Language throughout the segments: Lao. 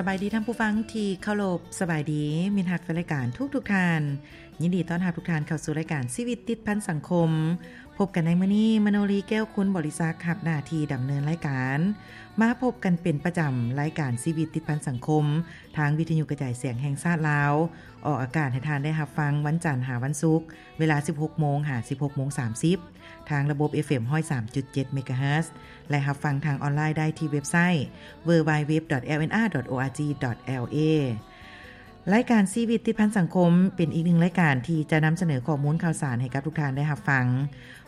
ສະບາຍດີທ່ານຜູ້ຟັງທີ່ເຄົາລົບ, ສະບາຍດີມິດຮັກແຟນລາຍການທຸກໆທ່ານ. ຍິນດີຕ້ອນຮັບທຸກທ່ານເຂົ້າສູ່ລາຍການຊີວິດຕິດພັນສັງຄົມ. ພົບກັນໃນມື້ນີ້, ມະໂນລີ ແກ້ວຄຸນ ບໍລິສັກ ຮັບໜ້າທີ່ດຳເນີນລາຍການ. ມາພົບກັນເປັນປະຈຳ, ລາຍການຊີວິດຕິດພັນສັງຄົມ ທາງວິທະຍຸກະຈາຍສຽງແຫ່ງຊາດລາວ ອອກອາກາດໃຫ້ທ່ານໄດ້ຮັບຟັງວັນຈັນຫາວັນສຸກ ເວລາສິບຫົກໂມງຫາສິບຫົກໂມງສາມສິບ ທາງລະບົບ ເອຟເອັມ ຮ້ອຍສາມຈຸດເຈັດ ເມກາເຮີດ ແລະ ຮັບຟັງທາງອອນລາຍໄດ້ທີ່ເວັບໄຊ www.lnr.org.la. ລາຍການຊີວິດຕິດພັນສັງຄົມ ເປັນອີກໜຶ່ງລາຍການທີ່ຈະນຳສະເໜີຂໍ້ມູນຂ່າວສານໃຫ້ກັບທຸກທ່ານໄດ້ຮັບຟັງ,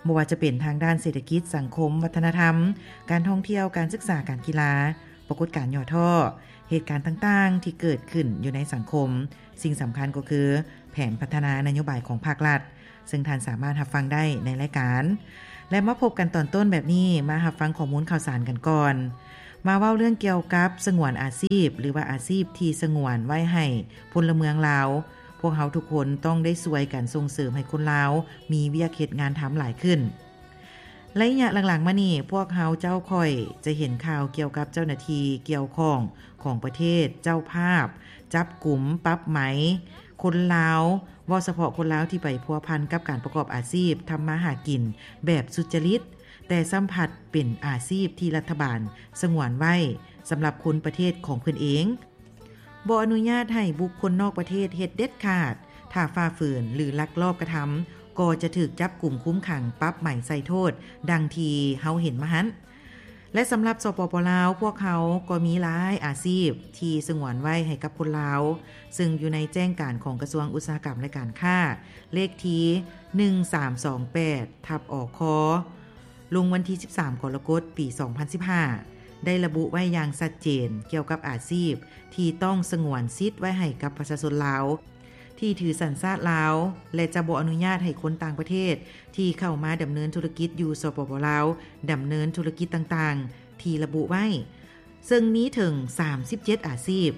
ບໍ່ວ່າຈະເປັນທາງດ້ານເສດຖະກິດ, ສັງຄົມ, ວັດທະນະທຳ, ການທ່ອງທ່ຽວ, ການສຶກສາ, ການກິລາ, ປາກົດການຫຍໍ້ທໍ້, ເຫດການຕ່າງໆທີ່ເກີດຂຶ້ນຢູ່ໃນສັງຄົມ, ສິ່ງສຳຄັນກໍຄືແຜນພັດທະນານະໂຍບາຍຂອງພາກລັດ, ເຊິ່ງທ່ານສາມາດຮັບຟັງໄດ້ໃນລາຍການ. ແລະ ມາພົບກັນຕອນຕົ້ນແບບນີ້, ມາຮັບຟັງຂໍ້ມູນຂ່າວສານກັນກ່ອນ. ມາເວົ້າເລື່ອງກ່ຽວກັບສະຫງວນອາຊີບ ຫຼືວ່າອາຊີບທີ່ສະຫງວນໄວ້ໃຫ້ພົນລະເມືອງລາວ. ພວກເຮົາທຸກຄົນຕ້ອງໄດ້ຊ່ວຍກັນສົ່ງເສີມໃຫ້ຄົນລາວມີວຽກເຮັດງານທຳຫຼາຍຂຶ້ນ. ໄລຍະຫຼັງໆມານີ້, ພວກເຮົາເຈົ້າຂ້ອຍຈະເຫັນຂ່າວກ່ຽວກັບເຈົ້າໜ້າທີ່ກ່ຽວຂ້ອງຂອງປະເທດເຈົ້າພາບ ຈັບກຸມ, ປັບໃໝຄົນລາວ, ເວົ້າສະເພາະຄົນລາວທີ່ໄປພົວພັນກັບການປະກອບອາຊີບທຳມາຫາກິນແບບສຸດຈະລິດ, ແຕ່ຊ້ຳພັດເປັນອາຊີບທີ່ລັດຖະບານສະຫງວນໄວ້ສຳລັບຄົນປະເທດຂອງເພິ່ນເອງ. ບໍ່ອະນຸຍາດໃຫ້ບຸກຄົນນອກປະເທດເຮັດເດັດຂາດ, ຖ້າຝ່າຝືນ ຫຼື ລັກລອບກະທຳ ກໍຈະຖືກຈັບກຸມຄຸມຂັງ, ປັບໃໝ, ໃສ່ໂທດ ດັ່ງທີ່ເຮົາເຫັນມາຫັ້ນ. ແລະ ສຳລັບ ສປປ ລາວ, ພວກເຮົາກໍມີຫຼາຍອາຊີບທີ່ສະຫງວນໄວ້ໃຫ້ກັບຄົນລາວ, ເຊິ່ງຢູ່ໃນແຈ້ງການຂອງກະຊວງອຸດສາຫະກຳ ແລະ ການຄ້າ, ເລກທີ ໜຶ່ງສາມສອງແປດ ທັບ ອຄ ລົງວັນທີ ສິບສາມ ກໍລະກົດ ປີ ສອງພັນສິບຫ້າ ໄດ້ລະບຸໄວ້ຢ່າງຊັດເຈນກ່ຽວກັບອາຊີບທີ່ຕ້ອງສະຫງວນສິດໄວ້ໃຫ້ກັບປະຊາຊົນລາວທີ່ຖືສັນຊາດລາວ ແລະ ຈະບໍ່ອະນຸຍາດໃຫ້ຄົນຕ່າງປະເທດທີ່ເຂົ້າມາດຳເນີນທຸລະກິດຢູ່ ສປປ ລາວ ດຳເນີນທຸລະກິດຕ່າງໆທີ່ລະບຸໄວ້ ເຊິ່ງມີເຖິງ ສາມສິບເຈັດ ອາຊີບ.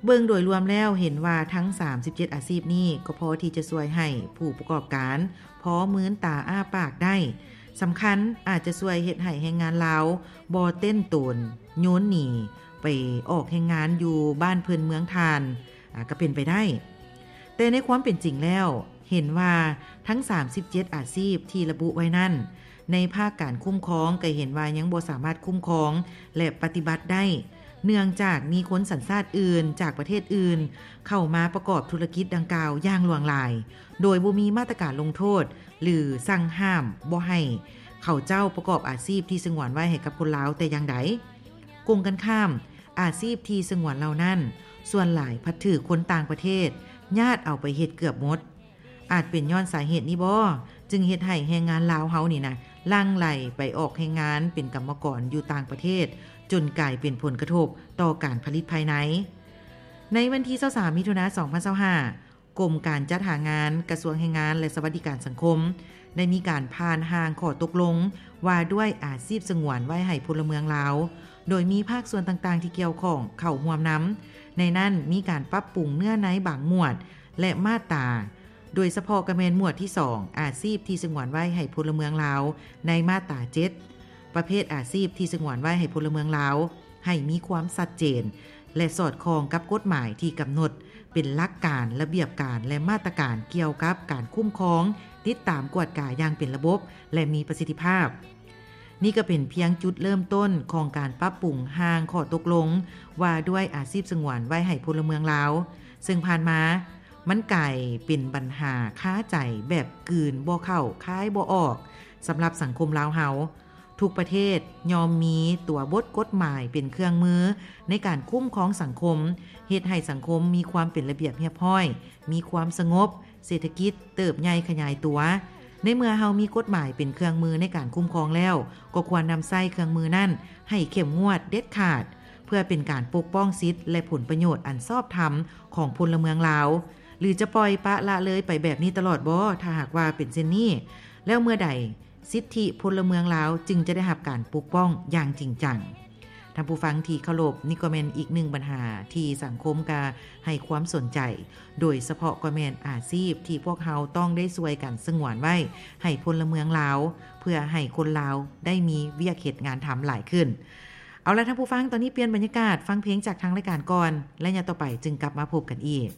ເບິ່ງໂດຍລວມແລ້ວເຫັນວ່າທັງ ສາມສິບເຈັດ ອາຊີບນີ້ກໍພໍທີ່ຈະຊ່ວຍໃຫ້ຜູ້ປະກອບການພໍມືນຕາອ້າປາກໄດ້. ສຳຄັນອາດຈະຊ່ວຍເຮັດໃຫ້ແຮງງານລາວບໍ່ເຕັ້ນໂຕນໂຍນໜີໄປອອກແຮງງານຢູ່ບ້ານເພິ່ນເມືອງທ່ານ ອາ ກໍເປັນໄປໄດ້. ແຕ່ໃນຄວາມເປັນຈິງແລ້ວ ເຫັນວ່າທັງ ສາມສິບເຈັດ ອາຊີບທີ່ລະບຸໄວ້ນັ້ນ ໃນພາກການຄຸ້ມຄອງກໍເຫັນວ່າຍັງບໍ່ສາມາດຄຸ້ມຄອງ ແລະ ປະຕິບັດໄດ້ ເນື່ອງຈາກມີຄົນສັນຊາດອື່ນ ຈາກປະເທດອື່ນ ເຂົ້າມາປະກອບທຸລະກິດດັ່ງກ່າວຢ່າງຫຼວງຫຼາຍ ໂດຍບໍ່ມີມາດຕະການລົງໂທດ ຫຼື ສັ່ງຫ້າມບໍ່ໃຫ້ເຂົາເຈົ້າປະກອບອາຊີບທີ່ສະຫງວນໄວ້ໃຫ້ກັບຄົນລາວແຕ່ຢ່າງໃດ. ກົງກັນຂ້າມ, ອາຊີບທີ່ສະຫງວນເຫຼົ່ານັ້ນ ສ່ວນຫຼາຍພັດຖືກຄົນຕ່າງປະເທດຍາດເອົາໄປເຮັດເກືອບໝົດ. ອາດເປັນຍ້ອນສາເຫດນີ້ບໍ ຈຶ່ງເຮັດໃຫ້ແຮງງານລາວເຮົານີ້ນະ ຫຼັ່ງໄຫຼໄປອອກແຮງງານເປັນກຳມະກອນຢູ່ຕ່າງປະເທດ ຈົນກາຍເປັນຜົນກະທົບຕໍ່ການຜະລິດພາຍໃນ. ໃນວັນທີ ຊາວສາມ ມິຖຸນາ ສອງພັນຊາວຫ້າ ກົມການຈັດຫາງານ ກະຊວງແຮງງານ ແລະ ສະຫວັດດີການສັງຄົມ ໄດ້ມີການຜ່ານຮ່າງຂໍ້ຕົກລົງວ່າດ້ວຍອາຊີບສະຫງວນໄວ້ໃຫ້ພົນລະເມືອງລາວ ໂດຍມີພາກສ່ວນຕ່າງໆທີ່ກ່ຽວຂ້ອງເຂົ້າຮ່ວມນຳ. ໃນນັ້ນມີການປັບປຸງເນື້ອໃນບາງໝວດ ແລະ ມາດຕາ, ໂດຍສະເພາະກໍແມ່ນໝວດທີສອງ ອາຊີບທີ່ສະຫງວນໄວ້ໃຫ້ພົນລະເມືອງລາວ ໃນມາດຕາເຈັດ ປະເພດອາຊີບທີ່ສະຫງວນໄວ້ໃຫ້ພົນລະເມືອງລາວ ໃຫ້ມີຄວາມຊັດເຈນ ແລະ ສອດຄ່ອງກັບກົດໝາຍທີ່ກຳນົດເປັນຫຼັກການ, ລະບຽບການ ແລະ ມາດຕະການກ່ຽວກັບການຄຸ້ມຄອງ, ຕິດຕາມ, ກວດກາຢ່າງເປັນລະບົບ ແລະ ມີປະສິດທິພາບ. ນີ້ກໍເປັນພຽງຈຸດເລີ່ມຕົ້ນຂອງການປັບປຸງຮ່າງຂໍ້ຕົກລົງວ່າດ້ວຍອາຊີບສະຫງວນໄວ້ໃຫ້ພົນລະເມືອງລາວ, ເຊິ່ງຜ່ານມາມັນກາຍເປັນບັນຫາຄາໃຈແບບກືນບໍ່ເຂົ້າຄາຍບໍ່ອອກສຳລັບສັງຄົມລາວເຮົາ. ທຸກປະເທດຍ່ອມມີຕົວບົດກົດໝາຍເປັນເຄື່ອງມືໃນການຄຸ້ມຄອງສັງຄົມ, ເຮັດໃຫ້ສັງຄົມມີຄວາມເປັນລະບຽບຮຽບຮ້ອຍ, ມີຄວາມສະຫງົບ, ເສດຖະກິດເຕີບໃຫຍ່ຂະຫຍາຍຕົວ. ໃນເມື່ອເຮົາມີກົດໝາຍເປັນເຄື່ອງມືໃນການຄຸ້ມຄອງແລ້ວ, ກໍຄວນນຳໃຊ້ເຄື່ອງມືນັ້ນໃຫ້ເຂັ້ມງວດເດັດຂາດ, ເພື່ອເປັນການປົກປ້ອງສິດ ແລະ ຜົນປະໂຫຍດອັນຊອບທຳຂອງພົນລະເມືອງລາວ. ຫຼືຈະປ່ອຍປະລະເລີຍໄປແບບນີ້ຕະຫຼອດບໍ? ຖ້າຫາກວ່າເປັນເຊັ່ນນີ້, ແລ້ວເມື່ອໃດ ສິດທິພົນລະເມືອງລາວຈຶ່ງຈະໄດ້ຮັບການປົກປ້ອງຢ່າງຈິງຈັງ. ທ່ານຜູ້ຟັງທີ່ເຄົາລົບ, ນີ້ກໍແມ່ນອີກໜຶ່ງບັນຫາທີ່ສັງຄົມກະໃຫ້ຄວາມສົນໃຈ, ໂດຍສະເພາະກໍແມ່ນອາຊີບທີ່ພວກເຮົາຕ້ອງໄດ້ຊ່ວຍກັນສະຫງວນໄວ້ໃຫ້ພົນລະເມືອງລາວ, ເພື່ອໃຫ້ຄົນລາວໄດ້ມີວຽກເຮັດງານທຳຫຼາຍຂຶ້ນ. ເອົາລະ ທ່ານຜູ້ຟັງ, ຕອນນີ້ປ່ຽນບັນຍາກາດ ຟັງເພງຈາກທາງລາຍການກ່ອນ ໄລຍະຕໍ່ໄປຈຶ່ງກັບມາພົບກັນອີກ.